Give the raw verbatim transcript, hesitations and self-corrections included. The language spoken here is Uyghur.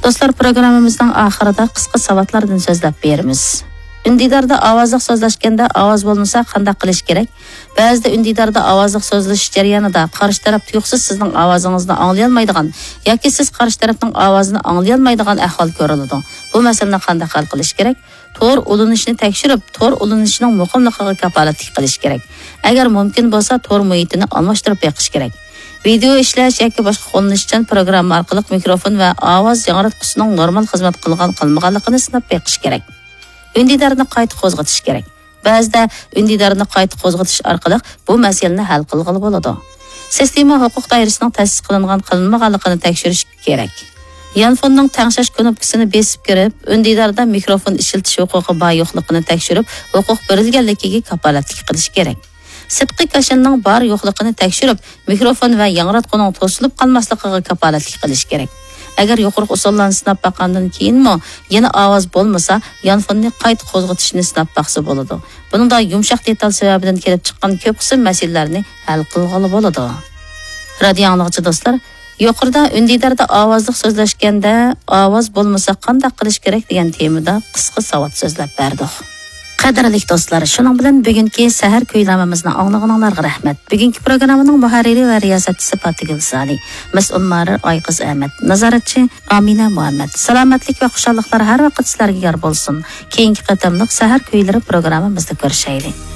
دوستلار، پروگراممىمىزنىڭ ئاخىرىدا قىسقا ساۋاتلاردىن سۆزلەپ بېرىمىز. ئۈندىداردا ئاۋازلىق سۆزلەشكەندە ئاۋاز بولمىسا قانداق قىلىش كېرەك؟ بەزىدە ئۈندىداردا ئاۋازلىق سۆزلىشىش جەريانىدا قارشى تەرەپ تۇيۇقسىز سىزنىڭ ئاۋازىڭىزنى ئاڭلىيالمايدىغان ياكى سىز قارشى تەرەپنىڭ ئاۋازىنى ئاڭلىيالمايدىغان ئەھۋال كۆرۈلىدۇ. بۇ مەسىلىنى قانداق ھەل قىلىش كېرەك؟ تور ئۇلىنىشىنى تەكشۈرۈپ، تور ئۇلىنىشىنىڭ مۇقىملىقىغا كاپالەتلىك قىلىش كېرەك. ئەگەر مۇمكىن بولسا، تور مۇھىتىنى ئالماشتۇرۇپ بېقىش كېرەك. ۋىدېئو ئىشلەش ياكى باشقا قوللىنىشچان پروگرامما ئارقىلىق مىكروفون ۋە ئاۋاز ياڭراتقۇسىنىڭ نورمال خىزمەت قىلغان قىلمىغانلىقىنى سىناپ بېقىش كېرەك. ئۈندىدارنى قايتا قوزغىتىش كېرەك. بەزىدە ئۈندىدارنى قايتا قوزغىتىش ئارقىلىق بۇ مەسىلىنى ھەل قىلغىلى بولىدۇ. سىستېما ھوقۇق دائىرىسىنىڭ تەسىس قىلىنغان قىلىنمىغانلىقىنى تەكشۈرۈش كېرەك. يانفوننىڭ تەڭشەش كۇنۇپكىسىنى بېسىپ كىرىپ، ئۈندىداردا مىكروفون ئىشلىتىش ھوقۇقى بار يوقلۇقىنى تەكشۈرۈپ، ھوقۇق بېرىلگەنلىكىگە كاپالەتلىك قىلىش كېرەك. سىرتقى كاشىلنىڭ بار يوقلۇقىنى تەكشۈرۈپ، مىكروفون ۋە ياڭراتقۇنىڭ توسۇلۇپ قالماسلىقىغا كاپالەتلىك قىلىش كېرەك. ئەگەر يۇقىرىقى ئۇسۇللارنى سىناپ باققاندىن كېيىنمۇ يەنە ئاۋاز بولمىسا، يانفوننى قايتا قوزغىتىشنى سىناپ باقسا بولىدۇ. بۇنىڭدا يۇمشاق دېتال سەۋەبىدىن كېلىپ چىققان كۆپ قىسىم مەسىلىلەرنى ھەل قىلغىلى بولىدۇ. رادىيو ئاڭلىغۇچى دوستلار، يۇقىرىدا ئۈندىداردا ئاۋازلىق سۆزلەشكەندە ئاۋاز بولمىسا قانداق قىلىش كېرەك دېگەن تېمىدا قىسقا ساۋات سۆزلەپ بەردۇق. قەدىرلىك دوستلار، شۇنىڭ بىلەن بۈگۈنكى سەھەر كۈيلەرمىمىزنى ئاڭلىغىنىڭلارغا رەھمەت. بۈگۈنكى پروگراممىنىڭ مۇھەررىرى ۋە رىياسەتچىسى پاتىگۈل سالى، مەسئۇل مۇھەررىر ئايقىز ئەمەت، نازارەتچى ئامىنە مۇھەممەت. سالامەتلىك ۋە خۇشاللىقلار ھەر ۋاقىت سىلەرگە يار بولسۇن. كېيىنكى قېتىملىق سەھەر كۈيلىرى پروگراممىمىزدا كۆرۈشەيلى.